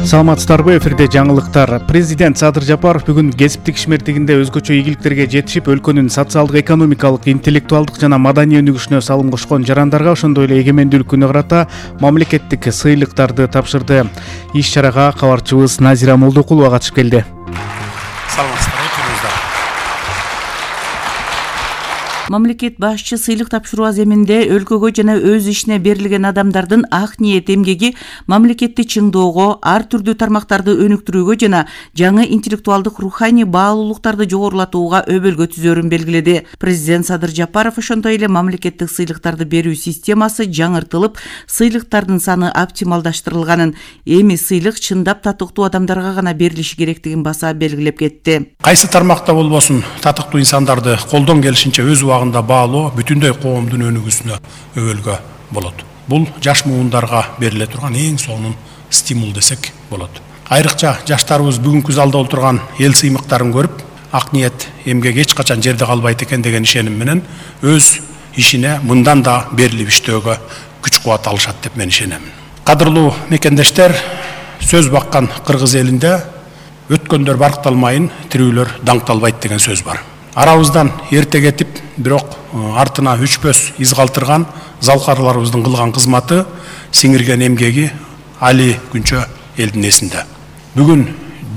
Саламатсыздарбы, эфирде жаңылыктар. Президент Садыр Жапаров бүгүн кесиптик ишмердигинде өзгөчө ийгиликтерге жетишип, өлкөнүн социалдык, экономикалык, интеллектуалдык жана маданий өнүгүшүнө салым кошкон жарандарга, ошондой эле эгемендүүлүк күнү карата мамлекеттик сыйлыктарды тапшырды. Иш-чарага кабарчыбыз Назира Молдокулова катышып келди. Саламатсыздарбы, күнүңүздөр. Мамлекет башчы сыйлык тапшыруу аземинде өлкөгө жана өз ишине берилген адамдардын ак ниет эмгеги мамлекетти чыңдоого, ар түрдүү тармактарды өнүктүрүүгө жана жаңы интеллектуалдык руханий баалуулуктарды жогорулатууга өбөлгө түзөрүн белгиледи. Президент Садыр Жапаров ошондой эле мамлекеттик сыйлыктарды берүү системасы жаңыртылып, сыйлыктардын саны оптималдаштырылганын, эми сыйлык чындап татыктуу адамдарга гана берилиши керектигин баса белгилеп кетти. Кайсы тармакта болбосун, татыктуу инсандарды колдон келишинче өз убагында баалоо бүтүндөй коомдун өнүгүүсүнө өбөлгө болот. Бул жаш муундарга бериле турган эң сонун стимул десек болот. Айрыкча жаштарыбыз бүгүнкү залда отурган эл сыймыктарын көрүп, ак ниет эмгек эч качан жерде калбайт экен деген ишеним менен өз ишине мындан да берилип иштөөгө күч кубат алышат деп мен ишенем. Кадырлуу мекендештер, сөз баккан кыргыз элинде өткөндөр баркталмайын, тирүүлөр даңкталбайт деген сөз бар. Арабыздан эрте кетип, бирок артына үчпөс из калтырган залкарларыбыздын кылган кызматы, сиңирген эмгеги али күнчө элдин эсинде. Бүгүн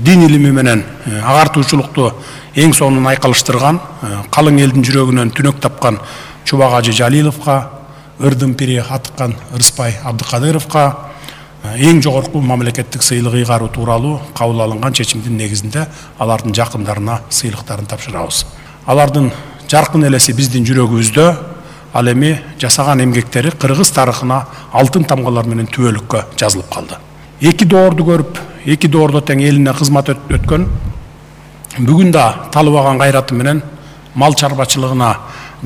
дин илими менен агартуучулукту эң сонун айкалыштырган, калың элдин жүрөгүнөн түнөк тапкан Чубак Ажы Жалиловго, ырдын пири атыккан Ырыспай Абдыкадыровго эң жогорку мамлекеттик сыйлык ыйгаруу тууралуу кабыл алынган чечимдин негизинде алардын жакындарына сыйлыктарын тапшырабыз. Алардын жаркын элеси биздин жүрөгүбүздө, ал эми жасаган эмгектери кыргыз тарыхына алтын тамгалар менен түбөлүккө жазылып калды. Эки доорду көрүп, эки доордо тең элине кызмат өткөн, бүгүн да талыбаган кайраты менен мал чарбачылыгына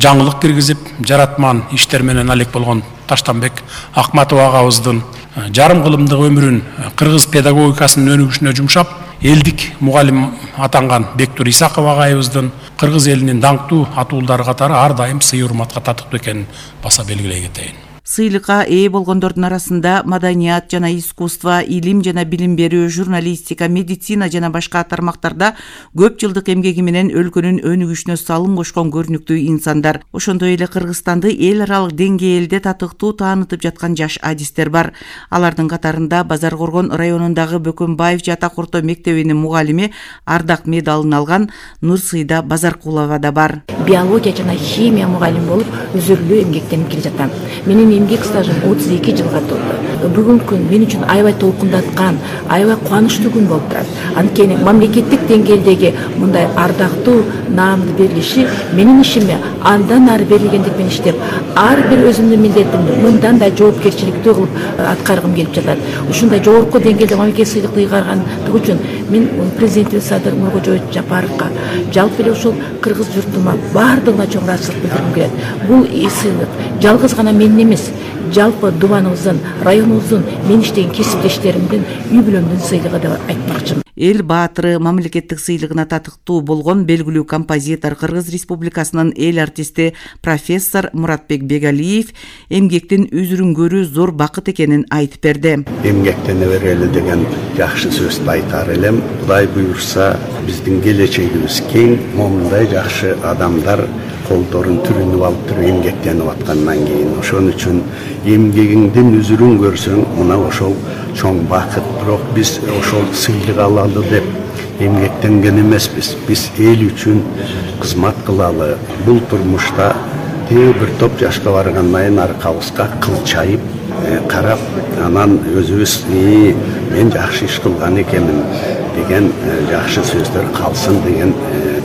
жаңылык киргизип, жаратман иштер менен алек болгон Таштанбек Акматов агабыздын жарым кылымдык өмүрүн кыргыз педагогикасынын өнүгүшүнө жумшап, элдик мугалим атанган Бектур Исаков агайыбыздын кыргыз элинин даңктуу атуулдары катары ар дайым сый урматка татыктуу экенин баса белгилей кетейин. Сыйлыкка ээ болгондордун арасында маданият жана искусство, илим жана билим берүү, журналистика, медицина жана башка тармактарда көп жылдык эмгеги менен өлкөнүн өнүгүшүнө салым кошкон көрүнүктүү инсандар. Ошондой эле Кыргызстанды эл аралык деңгээлде татыктуу таанытып жаткан жаш адистер бар. Алардын катарында Базар Коргон районундагы Бөкөнбаев Жатак орто мектебинин мугалими, ардак медалын алган Нурсыйда Базаркулова да бар. Биология жана химия мугалим болуп өзүрлүү эмгектенип келе жатам. Менин эмгек стажым 32 жылга толду. Бүгүнкү күн мен үчүн аябай толкундаткан, аябай кубанычтуу күн болуп турат. Анткени мамлекеттик деңгээлдеги мындай ардактуу наамды берилиши менин ишиме андан ары берилгендик менен иштеп, ар бир өзүмдүн милдетимди мындан да жоопкерчиликтүү кылып аткаргым келип жатат. Ушундай жогорку деңгээлде мамлекет сыйлыкты ыйгаргандыгы үчүн мен президентибиз Садыр Мургожоевич Жапаровго жалпы эле ушул кыргыз журтума баардыгына чоң ыраазычылык билдиргим келет. Бул сыйлык жалгыз гана менин эмес, жалпы дубаныбыздын, районубуздун, мен иштеген кесиптештеримдин, үй бүлөмдүн сыйлыгы деп айтмакчымын. Эл баатыры мамлекеттик сыйлыгына татыктуу болгон белгилүү композитор, Кыргыз Республикасынын эл артисти профессор Муратбек Бегалиев эмгектин үзүрүнгөрүү зор бакыт экенин айтып берди. Эмгектене берели деген жакшы сөздү айтар элем. Кудай буйрса, биздин келечегибиз кең, момундай жакшы адамдар колдорун түрүнүп алып туруп эмгектенип аткандан кийин ошон үчүн эмгегиңдин үзүрүн көрсөң мына ошол чоң бакыт. Бирок биз ошол сыйлык алалы деп эмгектенген эмеспиз. Биз эл үчүн кызмат кылалы. Бул турмушта бир топ жашка баргандан кийин аркабызга кылчайып карап, анан өзүбүз мен жакшы иш кылган экенмин деген жакшы сөздөр калсын деген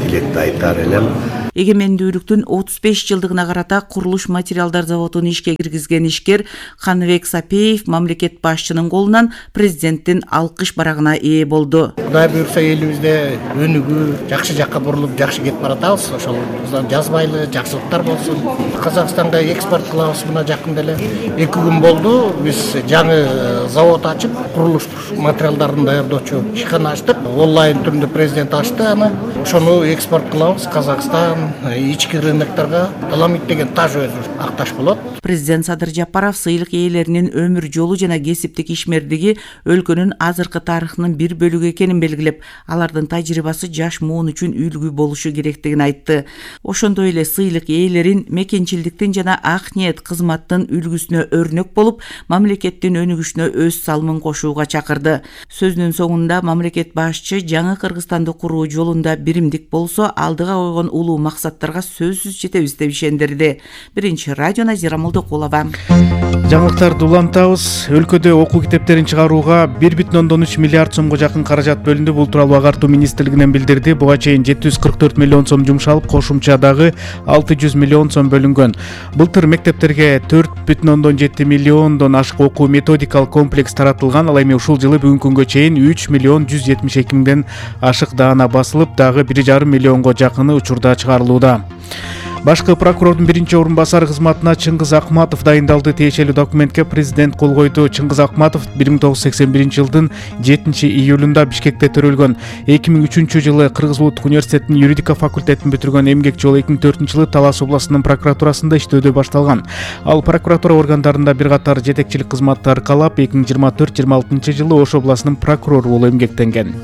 тилекти айтар элем. Эгемендүүлүктүн 35 жылдыгына карата курулуш материалдар заводун ишке киргизген ишкер Каныбек Сапеев мамлекет башчынын колунан президенттин алкыш барагына ээ болду. Кудай буйрса элибизде өнүгүү жакшы жакка бурулуп жакшы кетип баратабыз. Ошол жазбайлы жакшылыктар болсун. Казакстанга экспорт кылабыз мына жакында эле 2 күн болду. Биз жаңы завод ачып, курулуш материалдарын даярдоочу ишкана ачтык. Онлайн түрүндө президент ачты аны. Ошону экспорт кылабыз. Казакстан, болгон ички рыноктарга таламит деген таж өзү акташ болот. Президент Садыр Жапаров сыйлык ээлеринин өмүр жолу жана кесиптик ишмердиги өлкөнүн азыркы тарыхынын бир бөлүгү экенин белгилеп, алардын тажрыйбасы жаш муун үчүн үлгү болушу керектигин айтты. Ошондой эле сыйлык ээлерин мекенчилдиктин жана ак ниет кызматтын үлгүсүнө өрнөк болуп, мамлекеттин өнүгүшүнө өз салымын кошууга чакырды. Сөзүнүн соңунда мамлекет башчы жаңы Кыргызстанды куруу жолунда биримдик болсо, алдыга койгон улуу максаттарга сөзсүз жетебиз деп ишендирди. Биринчи радио Назира Молдокулова. Жаңылыктарды улантабыз. Өлкөдө окуу китептерин чыгарууга 1,3 миллиард сомго жакын каражат бөлүндү. Бул тууралуу Агартуу министрлигинен билдирди. Буга чейин 744 миллион сом жумшалып, кошумча дагы 600 миллион сом бөлүнгөн. Былтыр мектептерге 4,7 миллиондон ашык окуу методикалык комплекс таратылган. Ал эми ушул жылы бүгүнкү күнгө чейин 3 миллион 172 миңден ашык даана басылып, дагы 1,5 миллионго жакыны учурда чыгарылууда. Башкы прокурордун биринчи орун басары кызматына Чыңгыз Акматов дайындалды. Тиешелүү документке президент кол койду. Чыңгыз Акматов 1981 жылдын 7-июлунда Бишкекте төрөлгөн. 2003 жылы Кыргыз Улуттук университетинин юридика факультетин бүтүргөн. Эмгекчи ол 2004 жылы Талас областынын прокуратурасында иштөөдө башталган. Ал прокуратура органдарында бир катар жетекчилик кызматты аркалап, 2024-26 жылы Ош областынын прокурору болуп эмгектенген.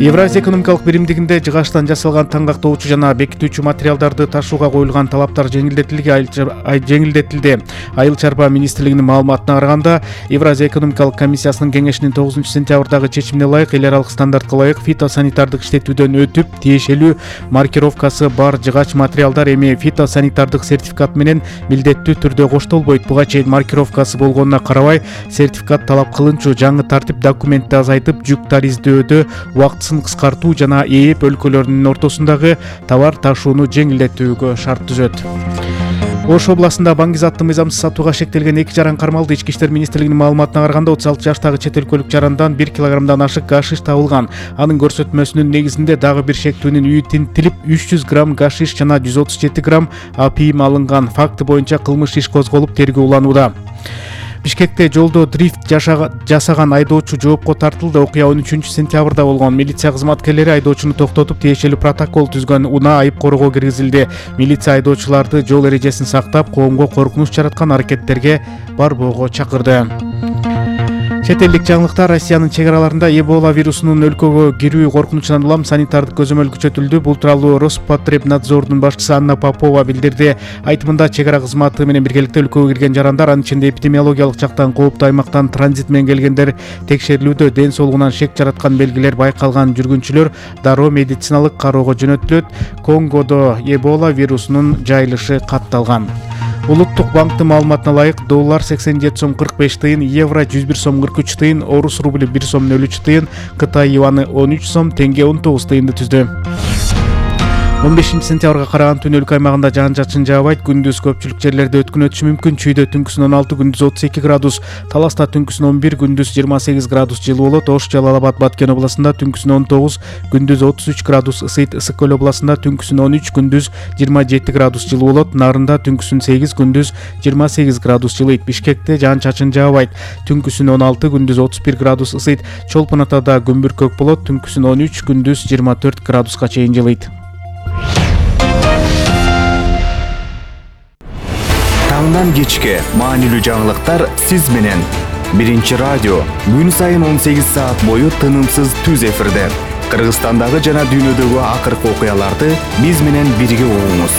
Евразия экономикалык биримдигинде жыгачтан жасалган таңгактоочу жана бекитүүчү материалдарды ташууга коюлган талаптар жеңилдетилди. Айыл чарба министрлигинин маалыматына караганда, Евразия экономикалык комиссиясынын кеңешинин 9-сентябрдагы чечимине ылайык эл аралык стандартка ылайык фитосанитардык иштетүүдөн өтүп, тиешелүү маркировкасы бар жыгач материалдар эми фитосанитардык сертификат менен милдеттүү түрдө коштолбойт. Буга чейин маркировкасы болгонуна карабай, сертификат талап кылынчу жаңы тартип документти азайтып, жүк тариздөдө убактысын кыскартуу жана ээп өлкөлөрүнүн ортосундагы товар ташууну жеңилдетүүгө шарт түзөт. Ош областында Баңгиз аттуу мыйзамсыз сатууга шектелген 2 жаран кармалды. Ички иштер министрлигинин маалыматына караганда, 36 жаштагы чет өлкөлүк жарандан 1 килограммдан ашык гашиш табылган. Анын көрсөтмөсүнүн негизинде дагы бир шектүүнүн үйү тинтилип, 300 грамм гашиш жана 137 грамм апийим алынган. Факты боюнча кылмыш иш козголуп, тергөө уланууда. Бишкекте жолдо дрифт жасаган айдоочу жоопко тартылды. Окуя 13-сентябрда болгон. Милиция кызматкерлери айдоочуну токтотуп, тиешелүү протокол түзгөн. Унаа айып коргоо киргизилди. Милиция айдоочуларды жол эрежесин сактап, коомго коркунуч жараткан аракеттерге барбоого чакырды. Чет элдик жаңылыктар. Россиянын чек араларында Эбола вирусунун өлкөгө кирүү коркунучунан улам санитардык көзөмөл күчөтүлдү. Бул тууралуу Роспотребнадзордун башчысы Анна Попова билдирди. Айтымында, чек ара кызматы менен биргеликте өлкөгө кирген жарандар, анын ичинде эпидемиологиялык жактан кооптуу аймактан транзит менен келгендер текшерилүүдө. Ден соолугунан шек жараткан белгилер байкалган жүргүнчүлөр дароо медициналык кароого жөнөтүлөт. Конгодо Эбола вирусунун жайылышы катталган. Улуттук банктын маалыматына ылайык, доллар 87 сом 45 тыйын, евро 101 сом 43 тыйын, орус рубли 1 сом 03 тыйын, Кытай юаны 13 сом, тенге 19 тыйынды түздү. 15-сентябрга караган түн өлкө аймагында жаан-чачын жаабайт. Күндүз көпчүлүк жерлерде өткүн өтүшү мүмкүн. Чүйдө түнкүсүн 16, күндүз 32 градус, Таласта түнкүсүн 11, күндүз 28 градус жылуу болот. Ош, Жалал Абад, Баткен областында түнкүсүн 19, күндүз 33 градус ысыйт. Ысык көл областында түнкүсүн 13, күндүз 27 градус жылуу болот. Нарында түнкүсүн 8, күндүз 28 градус жылыйт. Бишкекте жаан-чачын жаабайт. Түнкүсүн 16, күндүз 31 градус ысыйт. Чолпон Атада күмбүркөк болот. Түнкүсүн 13, күндүз 24 градуска чейин жылыйт. Таңдан кечке маанилүү жаңылыктар сиз менен. Биринчи радио күн сайын 18 саат бою тынымсыз түз эфирде. Кыргызстандагы жана дүйнөдөгү акыркы окуяларды биз менен бирге угуңуз.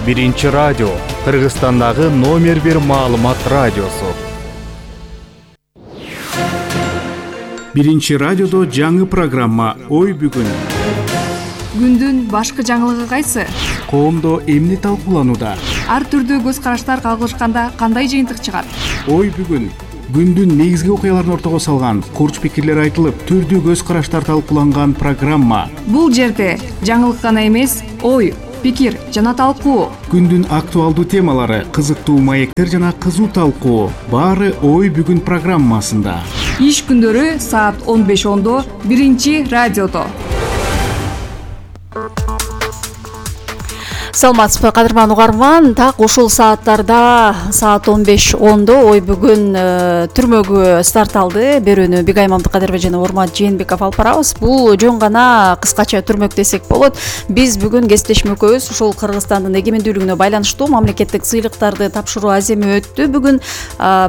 Биринчи радио Кыргызстандагы номер 1 маалымат радиосу. Биринчи радиодо жаңы программа Ой бүгүн. Күндүн башкы жаңылыгы кайсы? Коомдо эмне талкууланууда? Ар түрдүү көз караштар кагылышканда кандай жыйынтык чыгат? Ой бүгүн. Күндүн негизги окуяларын ортого салган, курч пикирлер айтылып, түрдүү көз караштар талкууланган программа. Бул жерде жаңылык гана эмес, ой, пикир жана талкуу. Күндүн актуалдуу темалары, кызыктуу маектер жана кызуу талкуу. Баары Ой бүгүн программасында. Иш күндөрү саат 15:10 биринчи радиодо. Саламатсызбы кадырман угарман, так ушул сааттарда саат 15:10 ой бүгүн түрмөгү старт алды. Берүүнү Бигай Мамдыкадырова жана Урмат Жээнбеков алып барабыз. Бул жөн гана кыскача түрмөк десек болот. Биз бүгүн кесиптешмекөбүз ушул Кыргызстандын эгемендүүлүгүнө байланыштуу мамлекеттик сыйлыктарды тапшыруу аземи өттү. Бүгүн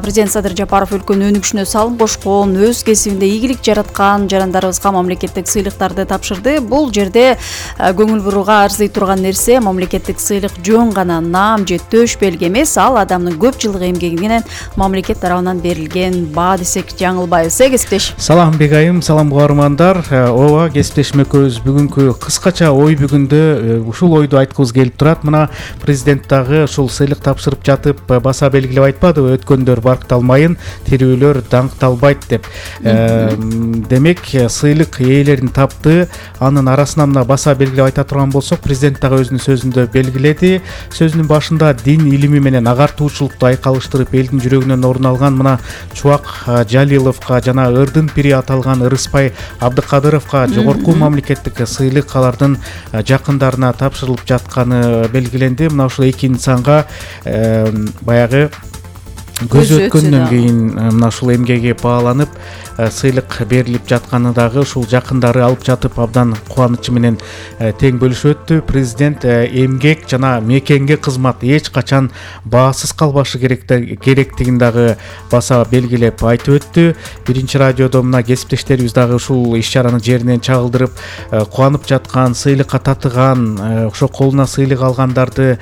президент Садыр Жапаров өлкөнүн өнүгүшүнө салым кошкон, өз кесибинде ийгилик жараткан жарандарыбызга мамлекеттик сыйлыктарды тапшырды. Бул жерде көңүл бурууга арзый турган нерсе мамлекеттик сыйлык жөн гана наам же төш белги эмес, ал адамдын көп жылдык эмгегинен мамлекет тарабынан берилген баа десек жаңылбайбыз. Кесиптеш. Салам Бегайым, салам угармандар. Ооба, кесиптешмекөбүз бүгүнкү кыскача ой бүгүндө ушул ойду айткыбыз келип турат. Мына президент дагы ушул сыйлык тапшырып жатып баса белгилеп айтпадыбы, өткөндөр баркталмайын, тирүүлөр даңкталбайт деп. Демек, сыйлык ээлерин тапты. Анын арасынан мына баса белгилеп айта турган болсок, президент дагы өзүнүн сөзүндө белгиледи. Сөзүнүн башында дин илими менен агартуучулукту айкалыштырып элдин жүрөгүнөн орун алган мына Чубак Жалиловго жана Ырдын пири аталган Ырыспай Абдыкадыровго жогорку мамлекеттик сыйлык алардын жакындарына тапшырылып жатканы белгиленди. Мына ушул эки инсанга баягы көз өткөндөн кийин мына ушул эмгеги бааланып сыйлык берилип жатканы дагы ушул жакындары алып жатып абдан кубанычы менен тең бөлүшүп өттү. Президент эмгек жана мекенге кызмат эч качан баасыз калбашы керектигин дагы баса белгилеп айтып өттү. Биринчи радиодо мына кесиптештерибиз дагы ушул иш чараны жеринен чагылдырып кубанып жаткан, сыйлыкка татыган, ошо колуна сыйлык алгандарды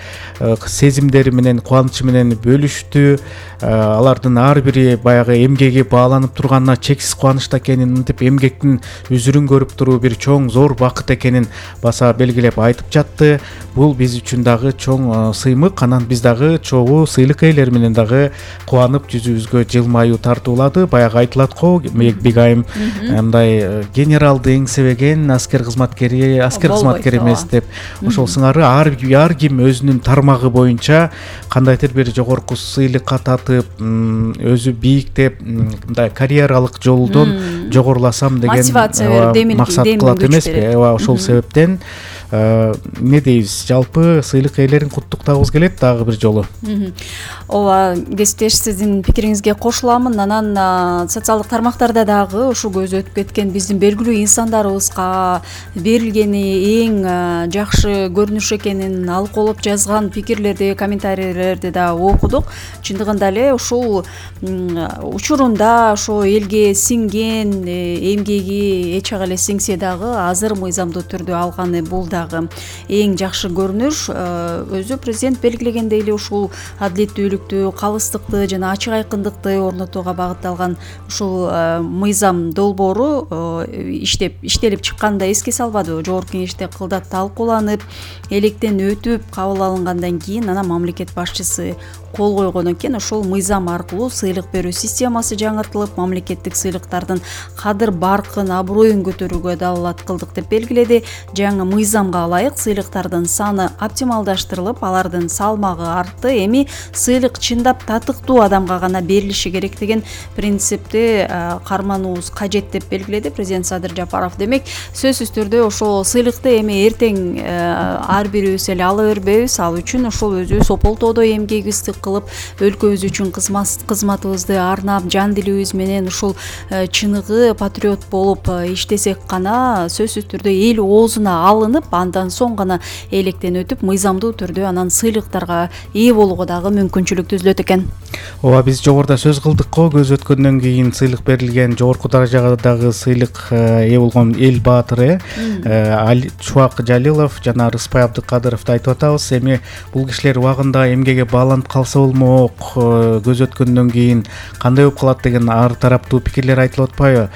сезимдери менен, кубанычы менен бөлүштү. Алардын ар бири баягы эмгеги бааланып турганына чексиз кубанычта экенин, мынтип эмгектин үзүрүн көрүп туруу бир чоң зор бакыт экенин баса белгилеп айтып жатты. Бул биз үчүн дагы чоң сыймык. Анан биз дагы чогуу сыйлык ээлери менен дагы кубанып жүзүбүзгө жылмаюу тартуулады. Баягы айтылат го, Бигайым, мындай генералды эңсебеген аскер кызматкери эмес деп. Ошол сыңары ар ким өзүнүн тармагы боюнча кандайдыр бир жогорку сыйлыкка татып, өзү бийиктеп, мындай карьералык жолдон жогоруласам деген максат кылат эмеспи? Ошол себептен эмне дейбиз, жалпы сыйлык ээлерин куттуктагыбыз келет дагы бир жолу. Ооба, кесиптеш, сиздин пикириңизге кошуламын. Анан социалдык тармактарда дагы ушу көз өтүп кеткен биздин белгилүү инсандарыбызга берилгени эң жакшы көрүнүш экенин алкоолоп жазган пикирлерди, комментарийлерди да окудук. Чындыгында эле ушул учурунда ошо элге сиңген эмгеги эч ага эле сиңсе дагы азыр мыйзамдуу түрдө алганы бул дагы эң жакшы көрүнүш. Өзү президент белгилегендей эле ушул адилеттүүлүктү, калыстыкты жана ачык айкындыкты орнотууга багытталган ушул мыйзам долбоору иштелип чыкканын да эске салбадыбы? Жогорку кеңеште кылдат талкууланып, электен өтүп кабыл алынгандан кийин анан мамлекет башчысы кол койгон экен. Ошол мыйзам аркылуу сыйлык берүү системасы жаңыртылып, мамлекеттик сыйлыктардын кадыр баркын, аброюн көтөрүүгө далалат кылдык деп белгиледи. Жаңы мыйзамга ылайык сыйлыктардын саны оптималдаштырылып, алардын салмагы артты. Эми сыйлык чындап татыктуу адамга гана берилиши керек деген принципти кармануубуз кажет деп белгиледи президент Садыр Жапаров. Демек, сөзсүз түрдө ошол сыйлыкты эми эртең ар бирибиз эле ала бербейбиз. Ал үчүн ошол өзүбүз ополтоодой эмгегибизди кылып, өлкөбүз үчүн кызматыбызды арнап, жан дилибиз менен ушул чыныгы патриот болуп иштесек гана сөзсүз түрдө эл оозуна алынып, андан соң гана электен өтүп, мыйзамдуу түрдө анан сыйлыктарга ээ болууга дагы мүмкүнчүлүк түзүлөт экен. Ооба, биз жогоруда сөз кылдык го, көз өткөндөн кийин сыйлык берилген жогорку даражадагы сыйлык ээ болгон эл баатыры Чубак Жалилов жана Рыспай Абдыкадыровду айтып атабыз. Эми бул кишилер убагында эмгеге бааланып калса болмок, көз өткөндөн кийин кандай болуп калат деген ар тараптуу пикирлер айтылып атпайбы?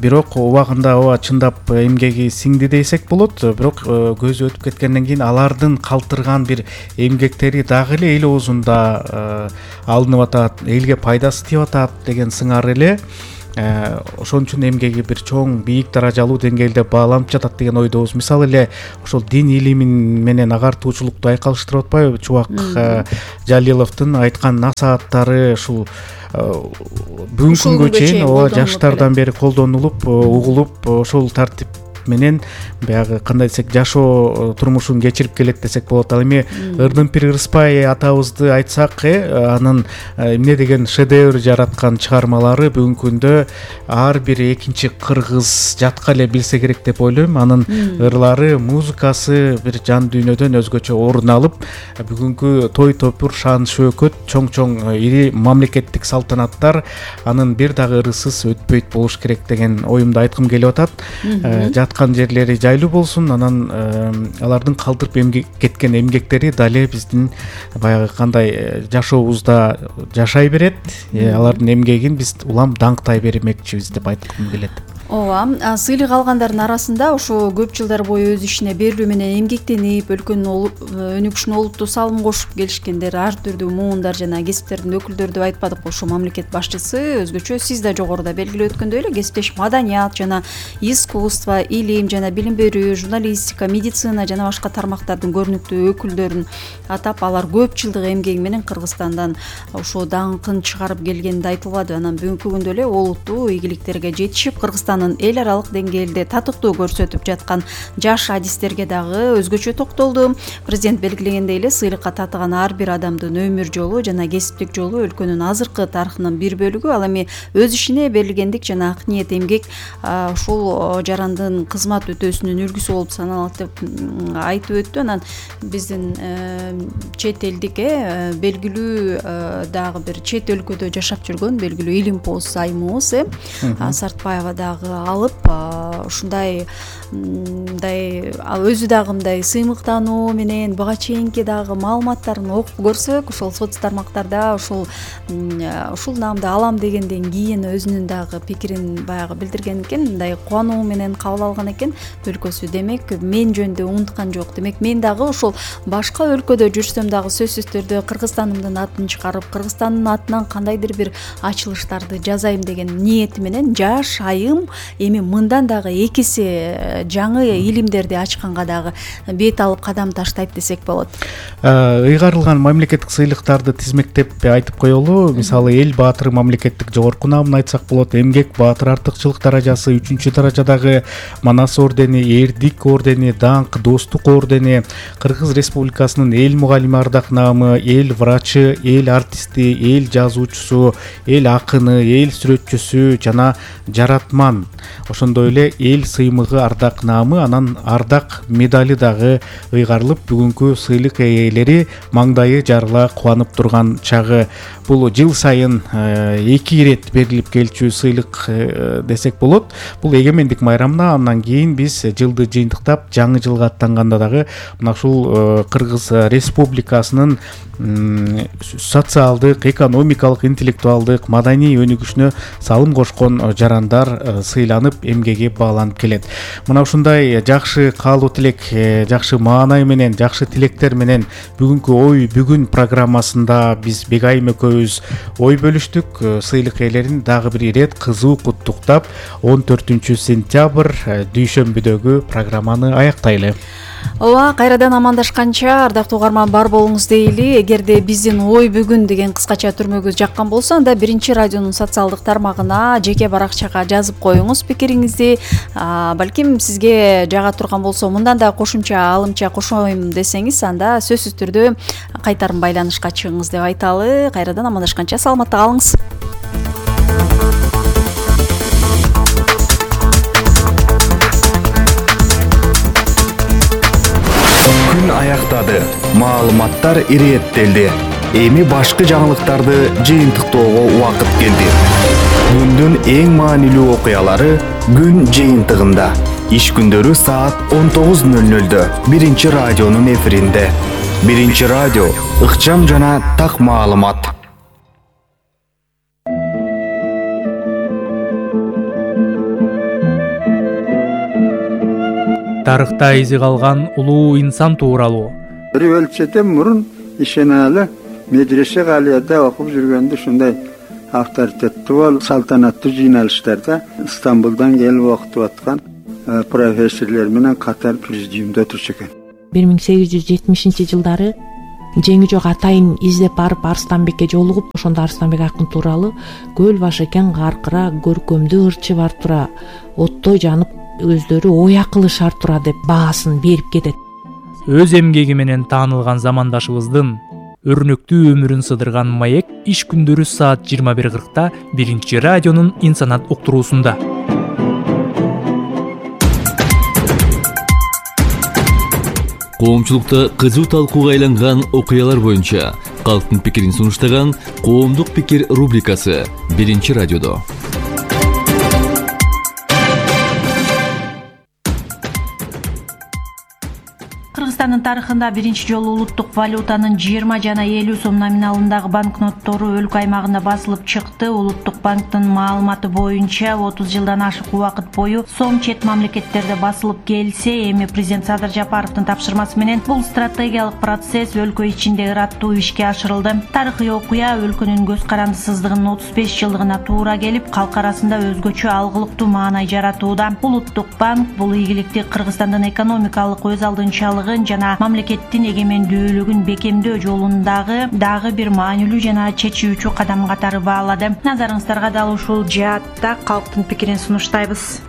Бирок убагында ооба чындап эмгеги сиңди десек болот. Бирок көз өтүп кеткенден кийин алардын калтырган бир эмгектери дагы эле эл оозунда алынып атат, элге пайдасы тийип атат деген сыңар эле. Ошон үчүн эмгеги бир чоң бийик даражалуу деңгээлде бааланып жатат деген ойдобуз. Мисалы эле ошол дин илими менен агартуучулукту айкалыштырып атпайбы? Чубак Жалиловдун айткан насааттары ушул бүгүнкү күнгө чейин жаштардан бери колдонулуп, угулуп, ошол тартип менен баягы кандай десек жашоо турмушун кечирип келет десек болот. Ал эми Ырдымпир Ырыспай атабызды айтсак, анын эмне деген шедевр жараткан чыгармалары бүгүнкү күндө ар бир экинчи кыргыз жатка эле билсе керек деп ойлойм. Анын ырлары, музыкасы бир жан дүйнөдөн өзгөчө орун алып, бүгүнкү той топур, шан шөөкөт, чоң ири мамлекеттик салтанаттар анын бир дагы ырысыз өтпөйт болуш керек деген оюмду айткым келип атат. Жаткан жерлери жайлуу болсун, анан алардын калтырып кеткен эмгектери дале биздин баягы кандай жашообузда жашай берет. Алардын эмгегин биз улам даңктай бермекчибиз деп айткым келет. Ооба, сыйлык алгандардын арасында ошо көп жылдар бою өз ишине берилүү менен эмгектенип, өлкөнүн өнүгүшүнө олуттуу салым кошуп келишкендер, ар түрдүү муундар жана кесиптердин өкүлдөрү деп айтпадыкпы. Ошо мамлекет башчысы өзгөчө сиз да жогоруда белгилеп өткөндөй эле кесиптеш маданият жана искусство, илим жана билим берүү, журналистика, медицина жана башка тармактардын көрүнүктүү өкүлдөрүн атап, алар көп жылдык эмгеги менен Кыргызстандан ошо даңкын чыгарып келгени айтылбады. Анан бүгүнкү күндө эле олуттуу ийгиликтерге жетишип, Кыргызстандын эл аралык деңгээлде татыктуу көрсөтүп жаткан жаш адистерге дагы өзгөчө токтолду. Президент белгилегендей эле сыйлыкка татыган ар бир адамдын өмүр жолу жана кесиптик жолу өлкөнүн азыркы тарыхынын бир бөлүгү. Ал эми өз ишине берилгендик жана ак ниет эмгек ушул жарандын кызмат өтөөсүнүн үлгүсү болуп саналат деп айтып өттү. Анан биздин чет элдик белгилүү дагы бир чет өлкөдө жашап жүргөн белгилүү Илимпоз айымыбыз Сартбаева дагы алып ушундай өзү дагы мындай сыймыктануу менен буга чейинки дагы маалыматтарын окуп көрсөк, ошол соц тармактарда ушул наамды алам дегенден кийин өзүнүн дагы пикирин баягы билдирген экен. Мындай кубануу менен кабыл алган экен өлкөсү. Демек, мен жөнүндө унуткан жок. Демек, мен дагы ошол башка өлкөдө жүрсөм дагы сөзсүз түрдө Кыргызстанымдын атын чыгарып, Кыргызстандын атынан кандайдыр бир ачылыштарды жасайм деген ниети менен жаш айым эми мындан дагы экиси жаңы илимдерди ачканга дагы бет алып кадам таштайт десек болот. Ыйгарылган мамлекеттик сыйлыктарды тизмектеп айтып коелу. Мисалы, эл баатыры мамлекеттик жогорку наамын айтсак болот. Эмгек баатыр артыкчылык даражасы 3-даражадагы Манас ордени, Эрдик ордени, Даңк, Достук ордени, Кыргыз Республикасынын эл мугалими ардак наамы, эл врачы, эл артисти, эл жазуучусу, эл акыны, эл сүрөтчүсү жана жаратман. Ошондой эле эл сыймыгы ардак наамы, анан ардак медали дагы ыйгарылып, бүгүнкү сыйлык ээлери маңдайы жарыла кубанып турган чагы. Бул жыл сайын 2 ирет берилип келчү сыйлык десек болот. Бул эгемендик майрамына, андан кийин биз жылды жыйынтыктап жаңы жылга аттанганда дагы мына ушул Кыргыз Республикасынын социалдык, экономикалык, интеллектуалдык, маданий өнүгүшүнө салым кошкон жарандар сыйланып, эмгеги бааланып келет. Мына ушундай жакшы каалоо тилек, жакшы маанай менен, жакшы тилектер менен бүгүнкү ой бүгүн программасында биз Бегайым экөөбүз ой бөлүштүк. Сыйлык ээлерин дагы бир ирет кызуу куттуктап, 14 сентябрь дүйшөмбүдөгү программаны аяктайлы. Ооба, кайрадан амандашканча ардактуу угарман бар болуңуз дейли. Эгерде биздин ой бүгүн деген кыскача түрмөгүбүз жаккан болсо, анда биринчи радионун социалдык тармагына, жеке баракчага жазып коюңуз пикириңизди. Балким сизге жага турган болсо, мындан да кошумча алымча кошоюм десеңиз, анда сөзсүз түрдө кайтарым байланышка чыгыңыз деп айталы. Кайрадан амандашканча саламатта калыңыз. Күн аяктады, маалыматтар ирээттелди. Эми башкы жаңылыктарды жыйынтыктоого убакыт келди. Күндүн эң маанилүү окуялары күн жыйынтыгында. Иш күндөрү саат 19:00 биринчи радионун эфиринде. Биринчи радио, ыкчам жана так маалымат. Тарыхта изи калган улуу инсан тууралуу. Бир өлчөтөн мурун ишенаалы медресе галияда окуп жүргөндө ушундай авторитеттүү бол салтанаттуу жыйналыштарда Стамбулдан келип окутуп аткан профессорлор менен катар президиумда отурчу экен. 1870-жылдары жеңи жок атайын издеп барып Арыстанбекке жолугуп, ошондо Арыстанбек акын тууралуу көл башы экен каркыра, көркөмдүү ырчы бар тура, оттой жанып өздөрү оя кылышар тура деп баасын берип кетет. Өз эмгеги менен таанылган замандашыбыздын өрнөктүү өмүрүн сыдырган маек иш күндөрү саат 21:40 Биринчи радионун Инсанат уктуруусунда. Коомчулукта кызуу талкууга айланган окуялар боюнча калктын пикирин сунуштаган Коомдук пикир рубрикасы Биринчи радиодо. Кыргызстандын тарыхында биринчи жолу улуттук валютанын 20 жана 50 сом номиналындагы банкноттору өлкө аймагында басылып чыкты. Улуттук банктын маалыматы боюнча 30 жылдан ашык убакыт бою сом чет мамлекеттерде басылып келсе, эми президент Садыр Жапаровдун тапшырмасы менен бул стратегиялык процесс өлкө ичинде ыраттуу ишке ашырылды. Тарыхый окуя өлкөнүн көз карандысыздыгынын 35 жылдыгына туура келип, калк арасында өзгөчө алгылыктуу маанай жаратууда. Улуттук банк бул ийгиликти Кыргызстандын экономикалык өз алдынчалыгын жана мамлекеттин эгемендүүлүгүн бекемдөө жолундагы дагы бир маанилүү жана чечүүчү кадам катары баалады. Назарыңыздарга дал ушул жаатта калктын пикирин сунуштайбыз.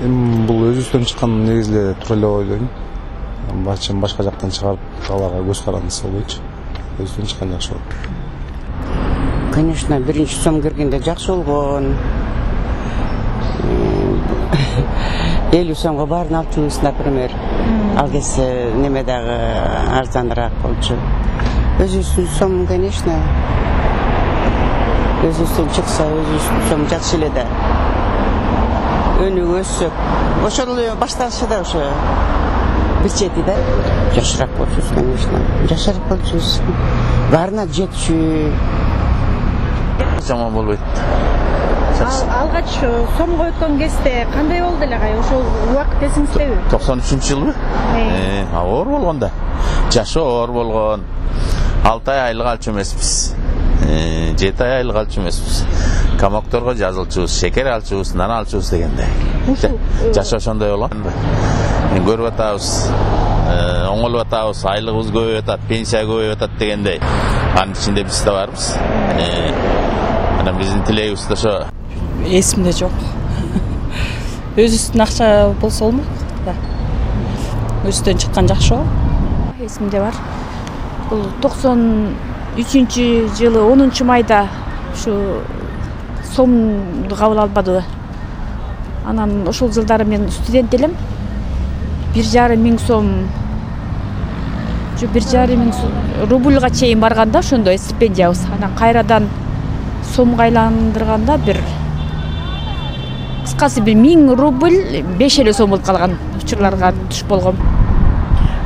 Бул өзүбүздөн чыккан негизде туура эле ойлойм. Башка жактан чыгарып аларга көз карандысы болбойчу. Өзүбүздөн чыккан жакшы болот. Конечно, биринчи сом киргенде жакшы болгон. 50 сомго баарын алып жүрүбүз, например. Ал кезде неме дагы арзаныраак болчу. Өзүбүздүн сом, конечно. Өзүбүздөн чыкса, өзүбүздүн сом жакшы эле да. Өнүгүп өссөк, ошол эле башталышы да ошо бир чети да. Жашыраак болчубуз, конечно. Жашыраак болчубуз. Баарына жетчү. Жаман болбойт. Алгач сомго өткөн кезде кандай болду эле кай? Ошол убакыт эсиңиздеби? 93-жылбы? Оор болгон да. Жашы оор болгон. 6 ай айлык алчу эмеспиз. 7 ай айлык алчу эмеспиз. Камокторго жазылчубуз, шекер алчубуз, нан алчубуз дегенде. Жашы ошондой болгон. Көрүп атабыз. Оңолуп атабыз, айлыгыбыз көбөйүп атат, пенсия көбөйүп атат дегендей. Анын ичинде биз да барбыз. Анан биздин тилегибиз да ошо. Эсимде жок. Өзүбүздүн акча болсо болмок да. Өзүбүздөн чыккан жакшы го. Эсимде бар. Бул 93-жылы 10-майда ушу сомду кабыл албадыбы. Анан ошол жылдары мен студент элем. 1,5 миң сом 1,5 миң рубльга чейин барганда ошондой стипендиябыз. Анан кайрадан сомго айландырганда бир кыскасы 1000 рубль 5 эле сом болуп калган учурларга туш болгом.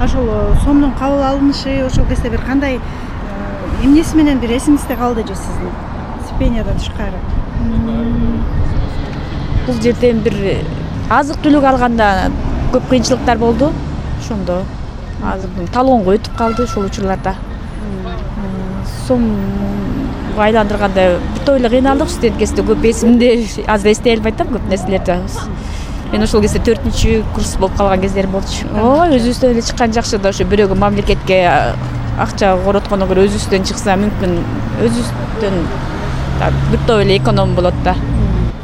Ошол сомдун кабыл алынышы ошол кезде бир кандай эмнеси менен бир эсиңизде калды же сиздин стипендиядан тышкары? Бул жерден бир азык түлүк алганда көп кыйынчылыктар болду. Ошондо азыр талонго өтүп калды ошол учурларда. Сом айландырганда бүт эле кыйналдык, студент кезде көп эсимде азыр эстей албай атам көп нерселерди. Мен ошол кезде 4-курс болуп калган кездерим болчу. Өзүбүздөн эле чыккан жакшы да, ошо бирөөгө мамлекетке акча короткондон көрө өзүбүздөн чыкса мүмкүн өзүбүздөн бүт эле эконом болот да.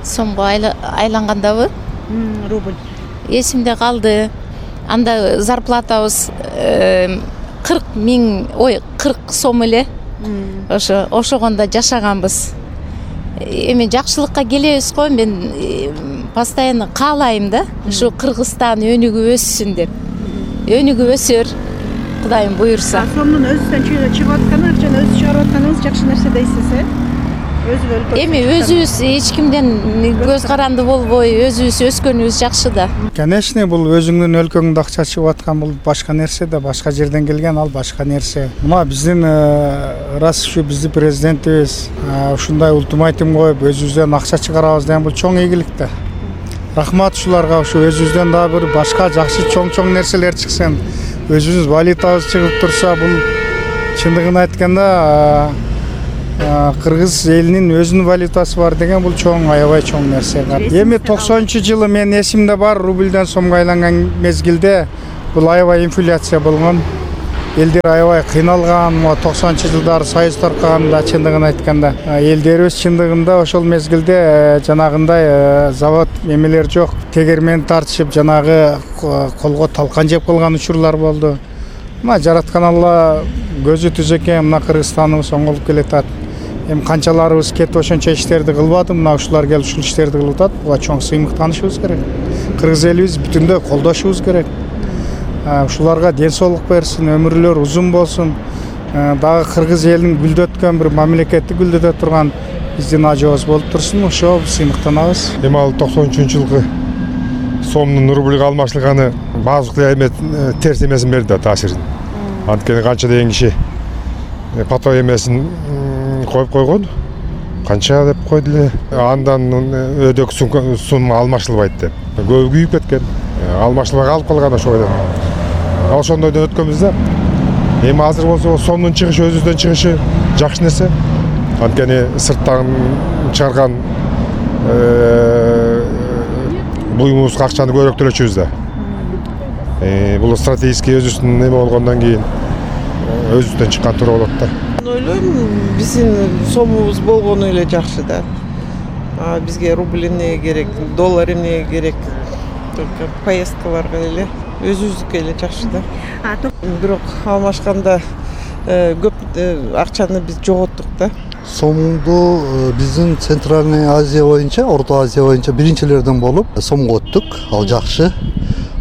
Сомго айлангандабы? Рубль. Эсимде калды. Анда зарплатабыз 40 сом эле. Ошогондо жашаганбыз. Эми жакшылыкка келебиз го, мен постоянно каалайм да, ушу Кыргызстан өнүгүп өссүн деп. Өнүгүп өсөр, Кудайым буйрса. Сомдун өзүнөн чыгып атканы, акчаны өзү чыгарып атканыңыз жакшы нерсе дейсиз, Эми өзүбүз эч кимден көз каранды болбой, өзүбүз өскөнүбүз жакшы да. Конечно, бул өзүңдүн өлкөңдө акча чыгып аткан бул башка нерсе да, башка жерден келген ал башка нерсе. Мына биздин раз ушу биздин президентибиз ушундай ультиматум коюп, өзүбүздөн акча чыгарабыз деген бул чоң ийгилик да. Рахмат ушуларга, ушу өзүбүздөн дагы бир башка жакшы чоң нерселер чыксын. Өзүбүз валютабыз чыгып турса, бул чындыгын айтканда кыргыз элинин өзүнүн валютасы бар деген бул чоң, аябай чоң нерсе. Эми 90-жылы мен эсимде бар, рубльден сомго айланган мезгилде бул аябай инфляция болгон. Элдер аябай кыйналган, 90-жылдары союз таркаганда чындыгын айтканда. Элдерибиз чындыгында ошол мезгилде жанагындай завод эмелер жок. Тегермен тартышып жанагы колго талкан жеп калган учурлар болду. Мына жараткан Алла көзү түз экен, мына Кыргызстаныбыз оңолуп келатат. Эми канчаларыбыз кетип ошончо иштерди кылбады, мына ушулар келип ушул иштерди кылып атат. Буга чоң сыймыктанышыбыз керек. Кыргыз элибиз бүтүндөй колдошубуз керек. Ушуларга ден соолук берсин, өмүрлөр узун болсун. Дагы кыргыз элинин гүлдөткөн бир мамлекетти гүлдөтө турган биздин ажыбыз болуп турсун. Ошо сыймыктанабыз. Эми ал 93-жылкы сомдун рубльга алмаштырганы баардык эме терс эмесин берди да, таасирин. Анткени канча деген киши пато эмесин коюп койгон, канча деп койду эле. Андан өдөк сум алмаштырылбайт деп. Көбү күйүп кеткен. Алмаштырбай калып калган ошо бойдон. Ошондойдон өткөнбүз да. Эми азыр болсо сомдун чыгышы, өзүбүздөн чыгышы жакшы нерсе. Анткени сырттан чыгарган буюмубузга акчаны көбүрөөк төлөчүбүз да. Бул стратегический өзүбүздүн эме болгондон кийин өзүбүздөн чыккан туура болот да. Ойлойм, биздин сомубуз болгону эле жакшы да. Бизге рубль эмне керек, доллар эмне керек, только поездкаларга эле өзүбүздүкү эле жакшы да. Бирок алмашканда көп акчаны биз жоготтук да. Сомду биздин Центральный Азия боюнча, Орто Азия боюнча биринчилерден болуп сомго өттүк. Ал жакшы.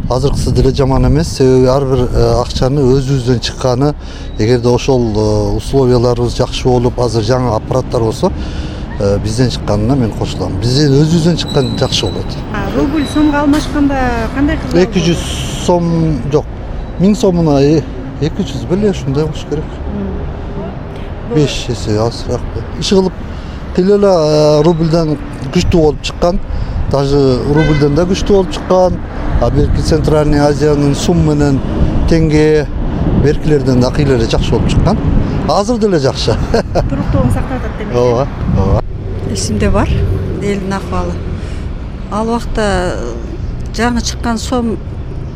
Азыркысы деле жаман эмес, себеби ар бир акчаны өзүбүздөн чыкканы, эгерде ошол условияларыбыз жакшы болуп, азыр жаңы аппараттар болсо, бизден чыкканына мен кошулам. Бизден өзүбүздөн чыккан жакшы болот. Рубль сомго алмашканда кандай кылып? 200 сом жок. 1000 сомуна 200 беле ушундай болуш керек. 5 эсе азыраак. Иши кылып эле рубльден күчтүү болуп чыккан, даже рубльден да күчтүү болуп чыккан. Берки Центральный Азиянын сум менен теңге беркилерден да акыйлары жакшы болуп чыккан. Азыр деле жакшы. Туруктугун сактап атат демек. Ооба, ооба. Эсимде бар, элдин акыбалы. Ал убакта жаңы чыккан сом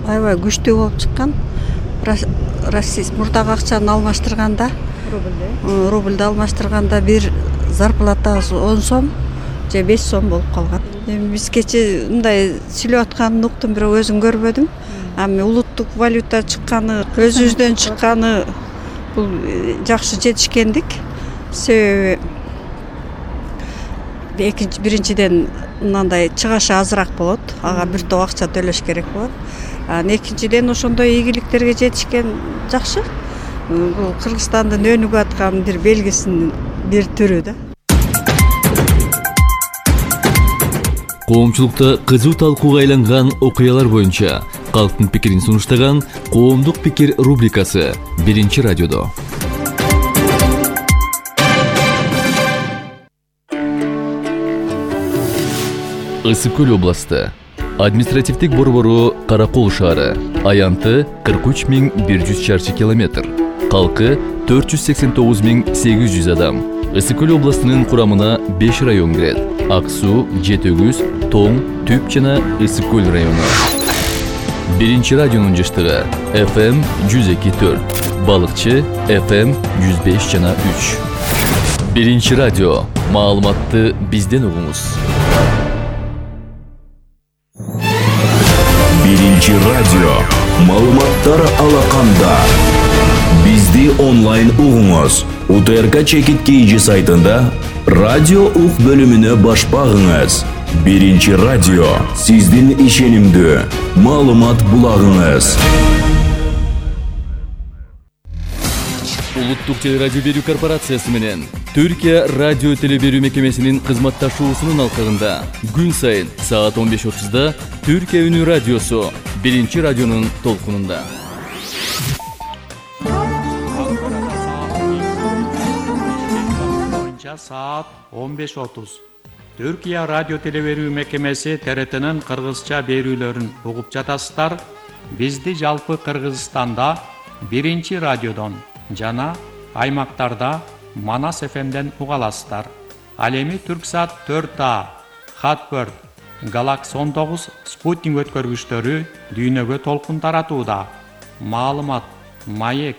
аябай күчтүү болуп чыккан. Россия мурдагы акчаны алмаштырганда, рубльди алмаштырганда бир зарплатабыз 10 сом же 5 сом болуп калган. Эми биз кече мындай сүйлөп атканын уктум, бирок өзүм көрбөдүм. Эми улуттук валюта чыкканы, өзүбүздөн чыкканы бул жакшы жетишкендик. Себеби биринчиден мындай чыгашы азыраак болот. Ага бир топ акча төлөш керек болот. Экинчиден ошондой ийгиликтерге жетишкен жакшы. Бул Кыргызстандын өнүгүп аткан бир белгисинин бир түрү да. Коомчулукта кызуу талкууга айланган окуялар боюнча калктын пикирин сунуштаган Коомдук пикир рубрикасы биринчи радиодо. Ысык көл областы. Административдик борбору Каракол шаары. Аянты 43100 чарчы километр. Калкы 489800 адам. Ысык көл областынын курамына 5 район кирет. Ак суу, Жетөгүз, Тоң, Түп жана Ысык көл району. Биринчи радионун жыштыгы FM 102.4, Балыкчы FM 105 жана 3. Биринчи радио. Маалыматты бизден угуңуз. Биринчи радио. Маалыматтар алаканда. Бизди онлайн угуңуз. УТРК Чекит KG сайтында радио ук бөлүмүнө баш багыңыз. Биринчи радио. Сиздин ишенимдүү маалымат булагыңыз. Улуттук телерадио берүү корпорациясы менен Түркия радио телеберүү мекемесинин кызматташуусунун алкагында күн сайын саат 15:30да Түркия үнү радиосу биринчи радионун толкунунда. Saat 15:30. Türkiye Radyo Televerүү Mekemesi TRT'nin Kırgızça berүүлөрүн угуп жатасыздар. Бизди жалпы Кыргызстанда биринчи радиодон жана аймактарда Манас FM-ден уга аласыздар. Ал эми Түрксат 4A, Хатберд, Galaxy 19 спутник өткөргүчтөрү дүйнөгө толкун таратууда. Маалымат, маек,